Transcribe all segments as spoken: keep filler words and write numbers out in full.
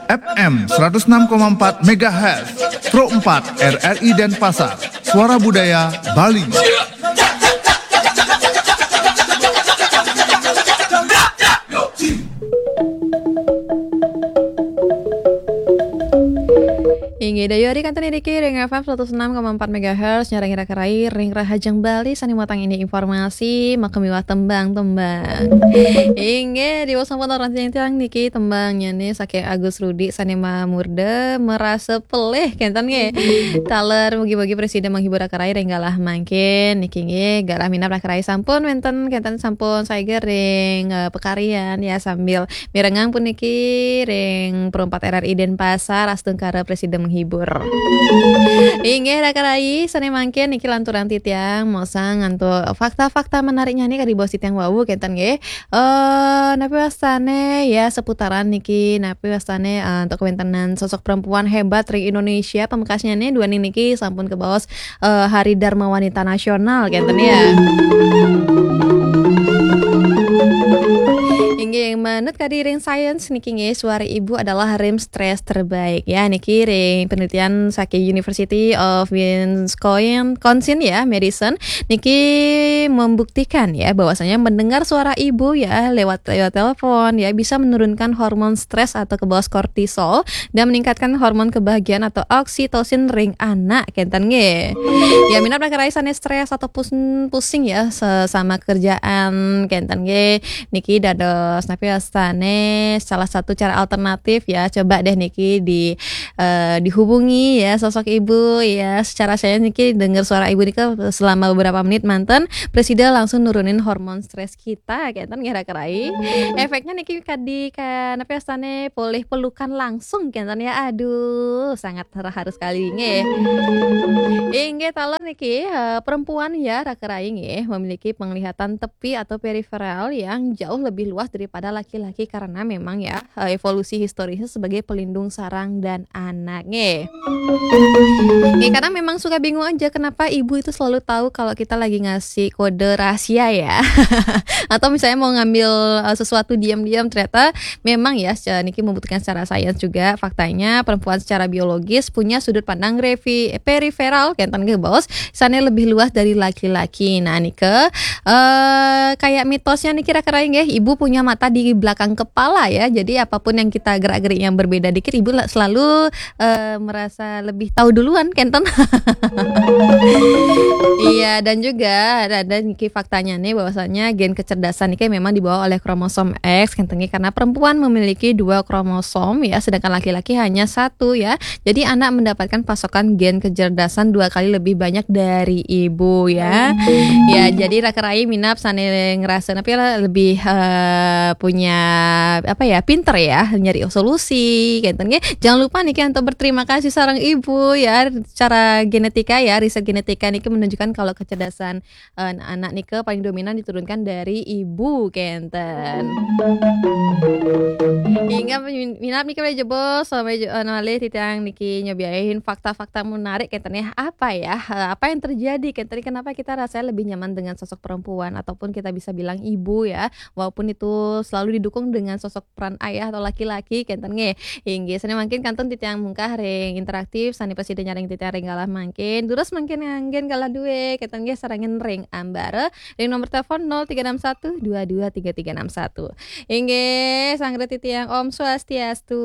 F M seratus enam koma empat megahertz, Pro empat R R I Denpasar, Suara Budaya Bali. Inggih, dayuh ari kantun iriki ring F M seratus enam koma empat megahertz, nyarengin raka rai ring Rahajeng Bali, sane matang ini informasi, maka miwah tembang-tembang. Inggih, diwastanin sampun orang tiang niki tembangnya nih saking Agus Rudi sane mamurda merasa pelih, kenten nggih. Taler mugi-mugi presida menghibur raka rai ring galah mangkin, niki nggih, galah minab raka rai sampun wenten, kenten sampun saeger ring, eh, pakaryan ya, sambil mirengang puniki ring Pro empat R R I Denpasar, astungkara presida menghibur. Inggih, raka rai, sane mangkin niki lanturang titiang mosang antuk fakta-fakta menariknya nih kadi bos titiang wau, kenten nggih. Eh, napi wastane ya seputaran niki, napi wastane, eh, antuk kawentenan sosok perempuan hebat ring Indonesia, pamekasnya nih duaning niki sampun kabaos, eh, Hari Dharma Wanita Nasional, kenten ya. Inggih, manut kadi ring sains niki nggih, suara ibu adalah rem stres terbaik. Ya, niki ring penelitian saking University of Wisconsin ya, Madison, niki membuktikan ya bahwasanya mendengar suara ibu ya lewat, lewat telepon ya bisa menurunkan hormon stres atau kabaos kortisol dan meningkatkan hormon kebahagiaan atau oksitosin ring anak, kenten nggih. Ya, minab raka rai sane stres atau pus-, pusing ya, se-, sama kerjaan, kenten nggih. Niki dados napi wastane salah satu cara alternatif ya. Coba deh niki di, eh, dihubungi ya sosok ibu ya. Secara saya niki dengar suara ibu nika selama beberapa menit manten, presida langsung nurunin hormon stres kita, kenten nggih raka rai. Efeknya niki kadi ka-, napi wastane polih pelukan langsung, kenten ya. Aduh, sangat haru sekali nggih. Inggih, taler niki, eh, perempuan ya raka rai nggih, memiliki penglihatan tepi atau periferal yang jauh lebih luas daripada laki-laki karena memang ya, eh, evolusi historisnya sebagai pelindung sarang dan anak nggih. Nggih, kadang memang suka bingung aja kenapa ibu itu selalu tahu kalau kita lagi ngasih kode rahasia ya. Atau misalnya mau ngambil, eh, sesuatu diam-diam, ternyata memang ya secara niki membuktikan secara sains juga faktanya perempuan secara biologis punya sudut pandang revi-, periferal, kenten nggih bos, sane lebih luas dari laki-laki. Nah, nika, eh, kayak mitosnya niki raka rai nggih, ibu punya mata di belakang kepala ya. Jadi apapun yang kita gerak-gerik yang berbeda dikit, ibu la-, selalu, eh, merasa lebih tahu duluan, kenten. Iya, dan juga ada, ada niki faktanya nih bahwasanya gen kecerdasan niki memang dibawa oleh kromosom X, kenten nggih, karena perempuan memiliki dua kromosom ya, sedangkan laki-laki hanya satu ya. Jadi anak mendapatkan pasokan gen kecerdasan dua kali lebih banyak dari ibu ya. Ya, jadi raka rai minab sane ngerasa napi lah lebih, eh, punya apa ya, pinter ya, nyari solusi, kenten nggih. Jangan lupa niki untuk berterima kasih sareng ibu ya, secara genetika ya, riset genetika niki menunjukkan kalau kecerdasan, eh, anak nika paling dominan diturunkan dari ibu, kenten. Hingga min-, minab nika jebos, sampai je-, eh, malih titiang niki nyobiain fakta-fakta menarik, kenten ya. Apa ya, eh, apa yang terjadi, kenten, kenapa kita rasanya lebih nyaman dengan sosok perempuan ataupun kita bisa bilang ibu ya, walaupun itu selalu didukung dengan sosok peran ayah atau laki-laki, kenten nggih. Inggih, sane mangkin kantun titiang mungkah ring interaktif, sane prasida nyarengin titiang ring galah mangkin. Durus mangkin nganggen galah due, kenten nggih, sarengin ring ambara ring nomor telepon nol tiga enam satu dua dua tiga tiga enam satu. Inggih, sanggra titiang, Om Swastiastu.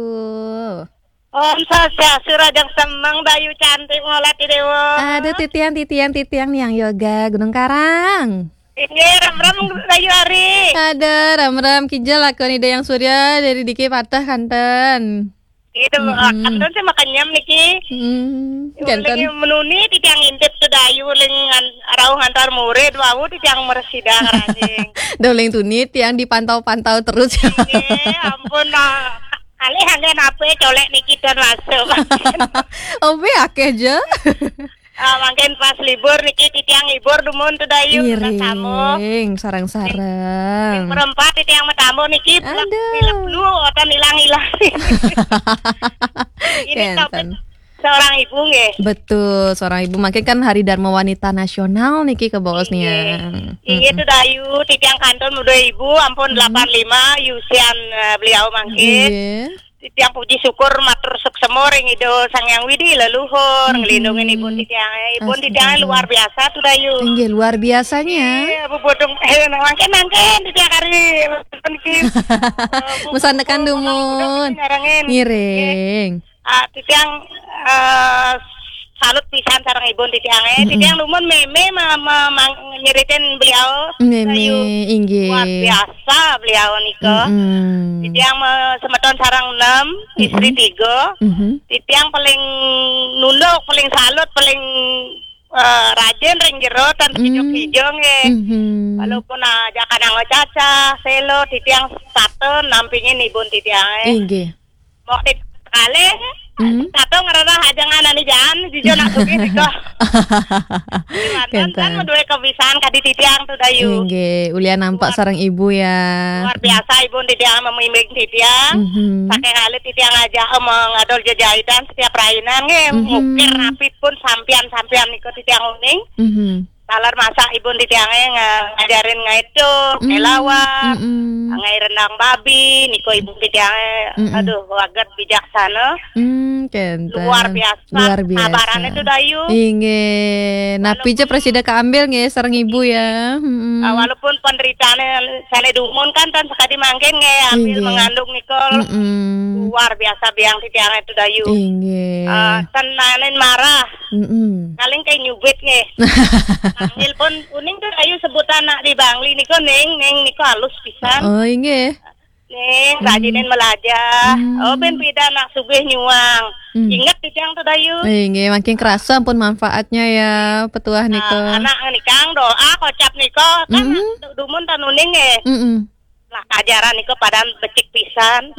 Om Swastiastu, rahajeng semeng, Dayu cantik, ngolat di dewa. Aduh, titiang, titiang, titiang, niang yoga Gunung Karang. Inggih, ram-ram, Dayu ari. Ada, ram-ram, kija lakon Ida Hyang Surya dari diki patah kanten. Itu, mm-mm, kanten sih makan nyam niki. Mm, kanten. Lagi menuni titiang intip tu Dayu ling an-, rauh ngantar murid, wau titiang meresida ngerajing. Doling tunit yang dipantau-pantau terus. Inggih, ampun, nah. Alih anggen apa colek niki dan masuk. Obe akeh je. Ah, mangkin pas libur niki titiang hibur dumun tu Dayu, tunas tamu. Iring, sareng-sareng. Perempat titiang matamu niki, pelak, aduh, pilek dulu, otan ilang-ilang. Ini topik kenten. Seorang ibu nggih. Betul, seorang ibu. Mangkin kan Hari Dharma Wanita Nasional niki kabaos nih. Inggih. Inggih, mm-mm, tu Dayu, titiang kantun muda ibu, ampun, mm, delapan lima, yusian, eh, beliau mangkin. Inggih. Titiang puji syukur matur suksema ring Ida Sang Hyang Widhi Leluhur, nglindungin ibun titiang. Ibun titiang luar biasa tuh, Dayu. Inggih, luar biasanya. Iya, Bu Bodong. Eh, mangkin, mangkin, titiang kari. Mangkin. Masandekan dumun. Ngiring. Ah, titiang, eh, salut pisan sareng ibun titiang, eh. Titiang dumun mémé ma-, ma-, mang-, nyeritain beliau. Mémé, inggih. Luar biasa beliau nika. Titiang ma-, semeton sareng enam, istri tiga. Titiang paling nunduk, paling salut, paling, eh, rajin ring jero tan kijo-kijo nggih. Walaupun aja kadang cacah, selo, titiang satu nampingin ibun titiang, eh. Inggih. Mok tit kalih, satu ngerereh aja nganani jaan, jijo nak sugih nika. Manten kan madué kebiasaan kadi titiang tuh, Dayu. Inggih, ulian nampak sareng ibu ya. Luar biasa ibun titiang, memimbing titiang. Saking alit titiang aja, eh, mengadol jejahitan setiap rainan nggih, ngukir napi pun sampian-sampian nika titiang uning. Taler masak ibun titiangé nga-, ngajarin ngaiduk, ngelawak, ngai rendang babi, nika ibun titiangé, aduh, waget bijaksana. Hmm, kenten. Luar biasa. Luar biasa. Sabarané tuh, Dayu. Inggih. Napi ja prasida kaambil nggih sareng ibu ya. Ah, walaupun penderitaannya sané dumun kan tan sekadi mangkin nggih ambil mengandung nika. Luar biasa biang titiangé tuh, Dayu. Inggih. Ah, ten naenin marah. Paling kayak nyubit nggih. Panggil pun uning tuh ayu sebutan nak di Bangli nika, Ning, Ning nika halus pisan. Oh, inggih. Ning, rajinin melajah. Oh, ben pida nak sugih nyuang. Ingat titiang tuh, Dayu. Inggih, makin kerasa ampun manfaatnya ya, petuah nika. Ah, anak nikang doa kocap nika kan du-, dumun tan uning nggih. Lah, ajaran niku padahal becik pisan.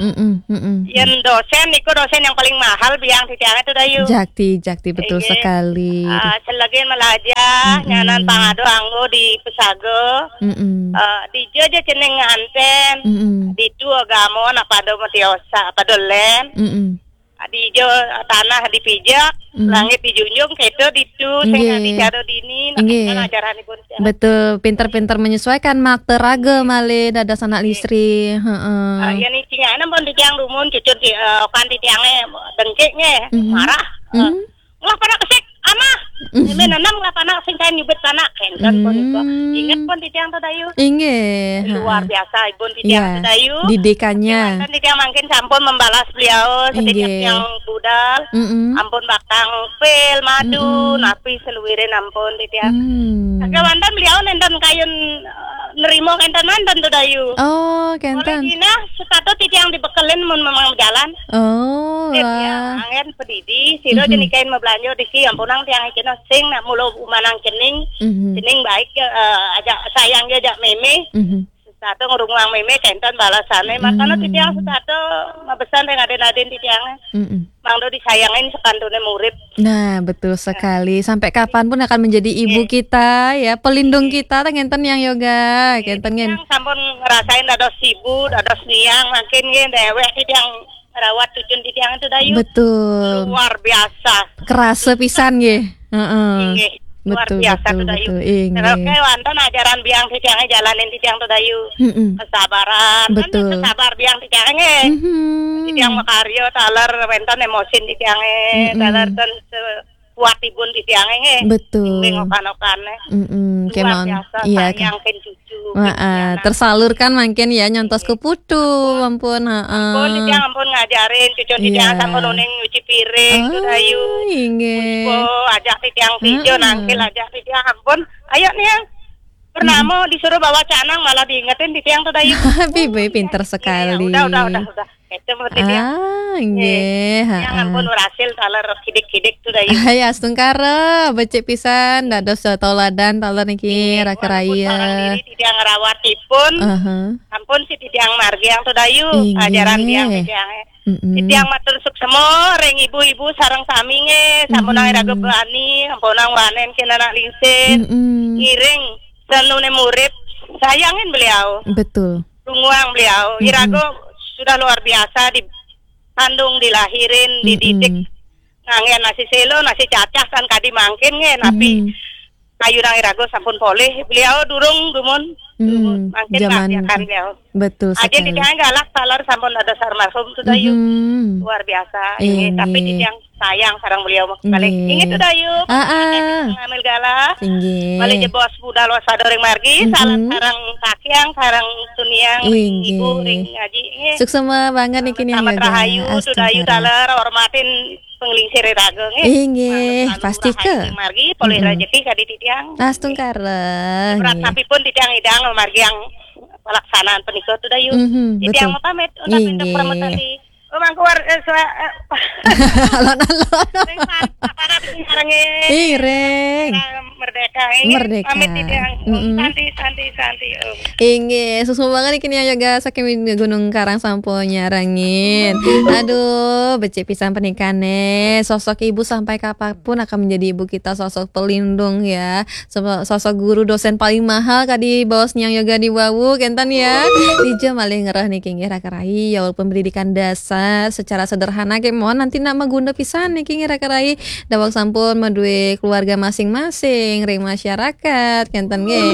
Yén dosen niku dosen yang paling mahal biang titiang itu, Dayu. Jakti, jakti, betul sekali. Ah, selagi melajah, nyanan pangado anggo di pesaga, eh, dija ja cening nganten, ditu agama nak pada matiosa, pada lén. Di ijo tanah dipijak, langit dijunjung, kéto ditu, sing adi cara dini, nah, kan ajaranipun. Betul, pinter-pinter menyesuaikan makta raga malih dados anak listri. Heeh. Ah, yén cingak ampun titiang dumun, cucun ti-, eh, okan titiangé dengkik nggih, marah. Eh, ngelah panak kesik, amah. Ini nanam ngelah panak sing kain nyubit panak, kénten punika. Inget pun titiang to, Dayu. Inggih, luar biasa ibun titiang to, Dayu. Didikannya. Kan titiang mangkin sampun membalas beliau sedikit yang budal. Ampun bakang pil, madu, napi seluwirin ampun titiang. Sakéwanten beliau nénten kayun, eh, nerima kénten manten to, Dayu. Oh, kénten. Oleh dina, setata titiang dibekelin mun memang jalan. Oh, wah. Angén pedidi, sira jenikain mabelanja diki, ampunang tiang kena sing, nak mula umanang cening, cening baik, eh, ajak sayang dia, ajak mémé. Sesatu ngrunguang mémé, kénten balasané. Makana titiang sesatu mabesan ring adin-adin titiang. Mangda disayangin sekantuné murid. Nah, betul sekali. Sampai kapanpun akan menjadi ibu kita, ya, pelindung kita, teng ngénten yang yoga, kénten ngén. Titiang sampun ngerasain dados ibu, dados niang, makin nggih déwék titiang ngrawat cucun titiang itu, Dayu. Betul. Luar biasa. Kerasa pisan nggih. Heeh. Inggih. Luar biasa to, Dayu. Betul, inggih. Terus kayak wonten ajaran biang titiang jalanin titiang to, Dayu. Kesabaran. Betul. Kan sabar biang titiang nggih. Titiang makarya taler wénten emosin titiangé, taler ten se-, kuat ibun titiangé nggih. Betul. Ning okan-okané. Luar biasa, iya, sayang kan cucu. Heeh, tersalurkan mangkin ya, nyontos ke putu, ampun, heeh. Ampun, titiang ampun ngajarin, cucu titiang sampun uning nyuci piring, to, Dayu. Inggih. Puspa, ajak titiang tijo, nangkil ajak titiang, ampun. Ayo, Niang. Purnama disuruh bawa canang, malah diingetin titiang to, Dayu. Pinter sekali. Iya, udah, udah, udah, udah. Itu mah titiang. Ah, inggih, yang ampun berhasil taler kidik-kidik to, Dayu. Hai, astungkara, becik pisan, dados tauladan taler niki, raka raya. Walaupun barang diri titiang ngrawat ipun, ampun si titiang margiang to, Dayu. Inggih. Ajaran tiang titiang. Titiang matur suksema ring ibu-ibu sareng sami nggih, sampunang iraga bani, sampunang wanen kén anak lingsir. Ngiring sanuné murid, sayangin beliau. Betul. Runguang beliau. Iraga sudah luar biasa dikandung, dilahirin, dididik. Nganggé nasi selo, nasi cacah kan kadi mangkin nggih, napi kayunang iraga sampun polih. Beliau durung dumun Hmm, mangkin zaman ya kan beliau. Betul sekali. Aja di tiang galak taler sampun dados almarhum tuh Dayu. Hmm. Luar biasa. Ini tapi di tiang sayang sareng beliau mah balik. Nggih. Inggih tuh Dayu. Ah, ah. Ngambil galak. Inggih. Balik jebos budal wasado ring margi, salam sareng kakiang, sareng tuniang, ring ibu, ring ngaji. Inggih. Suksema banget niki nih, Yoga. Selamat rahayu tuh Dayu taler, hormatin penglingsir raga nggih. Inggih, pasti ke. Margi polih rejeki kadi titiang. Astungkara. Berat nggih. Tapi pun titiang idang margi yang pelaksanaan penikah tuh Dayu. Mhm, titiang betul. Mau pamit untuk inggih. Untuk permetan di Rumah keluar eh, sua, eh, alon-alon. Ring para nyarengin. Ih, ring. Merdeka. Ini merdeka. Pamit titiang. Mm-mm. Santi, santi, santi. Inggih, suksma banget iki nih Yoga saking Gunung Karang sampun nyarengin. Aduh, becik pisan pernikahannya. Sosok ibu sampai kapanpun akan menjadi ibu kita, sosok pelindung ya. Sosok guru dosen paling mahal kadi baos nyang Yoga diwawu kenten ya. Dija malih ngereh niki nggih raka rai ya walaupun pendidikan dasar secara sederhana kemawon nanti nak maguna pisan niki nggih raka rai. Daweg sampun madue keluarga masing-masing ring masyarakat kenten nggih.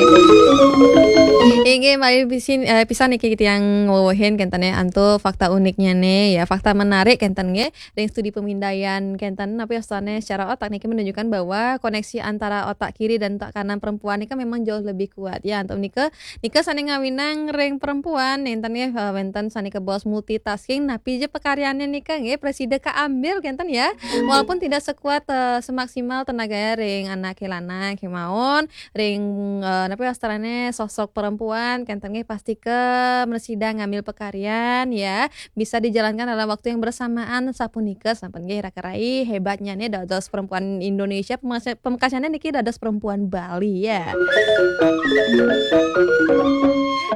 Inggih malih pisin, eh, pisan niki tiang wewehin kenten ya antuk fakta uniknya nih ya fakta menarik kenten nggih. Ring studi pemindaian kenten apa ya secara otak niki menunjukkan bahwa koneksi antara otak kiri dan otak kanan perempuan niki memang jauh lebih kuat ya. Antuk nika nika sane ngawinang ring perempuan nenten ya eh, wenten sane kebos multitasking napi je pekaryaannya nika nggih presida keambil kenten ya. Walaupun tidak sekuat eh, semaksimal tenaga ring anak lanang kemawon ring eh, napa ya, sosok perempuan kenten nggih pasti ke presida ngambil pekaryan ya. Bisa dijalankan dalam waktu yang bersamaan sapunika sampun nggih raka rai hebatnya nih dados perempuan Indonesia pemekasnya niki dados perempuan Bali ya.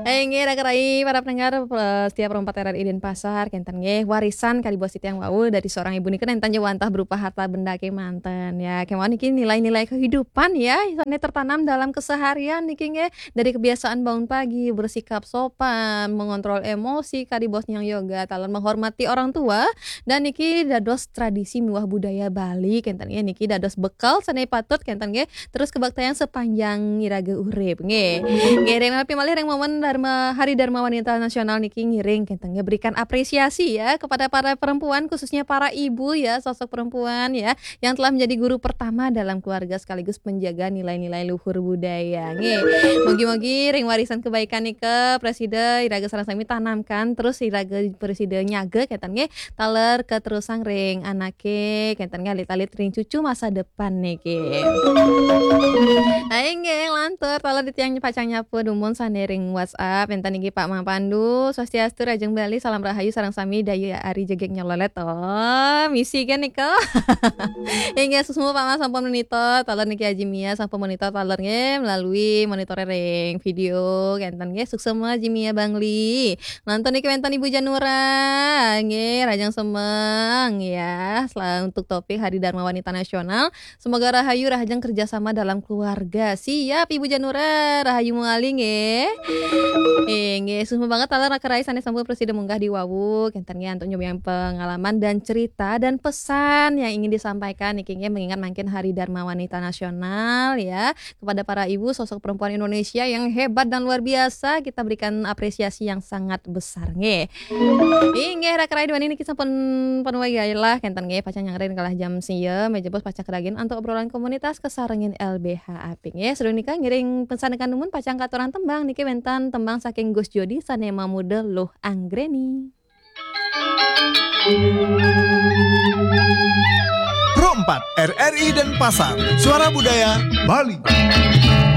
Eh nggih raka rai para pendengar eh, setiap rompat R R I Denpasar kenten nggih warisan kali bos yang wau dari seorang ibu nika nenten wantah berupa harta benda kemanten ya kemawon niki nilai-nilai kehidupan ya ini tertanam dalam keseharian niki nggih dari kebiasaan bangun pagi bersikap sopan mengontrol emosi kadi bos nyang Yoga taler menghormati orang tua dan niki dados tradisi miwah budaya Bali kenten nggih niki dados bekal sane patut kenten nggih terus kebaktian sepanjang iraga urip nggih. Nggih ring napi malih ring momen Dharma Hari Dharma Wanita Nasional niki ngiring kenten nggih berikan apresiasi ya kepada para perempuan khususnya para ibu ya sosok perempuan ya yang telah menjadi guru pertama dalam keluarga sekaligus penjaga nilai-nilai luhur budaya. Nggih. Mugi-mugi ring warisan kebaikan nika presida iraga sareng sami tanamkan terus iraga presida nyaga kenten nggih taler keterusan ring anake kenten nggih alit-alit ring cucu masa depan niki. Ayo nggih lantur taler di tiang pacang nyapa dumun sane ring WhatsApp enten niki Pak Mang Pandu swastiastu rajeng Bali salam rahayu sareng sami Dayu Ari Jegek Nyololet oh misi kan nika. Inggih semua Pak Mang sampun monitor taler niki Haji Mia sampun monitor taler nggih melalui monitor ring video kenten nggih suksema Haji Mia Bangli. Nonton niki wenten Ibu Janura nggih rajang semeng ya. Selamat untuk topik Hari Dharma Wanita Nasional. Semoga rahayu rahajeng kerjasama dalam keluarga. Siap Ibu Janura, rahayu muali nggih. Eh, nggih, suksma banget taler raka rai sane sampun presida munggah di wawu. Kenten nggih antuk nyobiang pengalaman dan cerita dan pesan yang ingin disampaikan niki nggih mengingat mangkin Hari Dharma Wanita Nasional ya. Kepada para ibu sosok perempuan Indonesia yang hebat dan luar biasa kita berikan apresiasi yang sangat besar nggih. Inggih raka rai duaning niki sampun panuwai galah kenten nggih pacang nyangrin kalah jam sia meja bos pacang keragin antuk obrolan komunitas kesarengin L B H apik nggih. Sedurung nika ngiring pensandekan dumun pacang katurang tembang niki wenten tembang saking Gus Jodi sane mamuda Luh Anggreni. Pro empat R R I Denpasar, Suara Budaya Bali.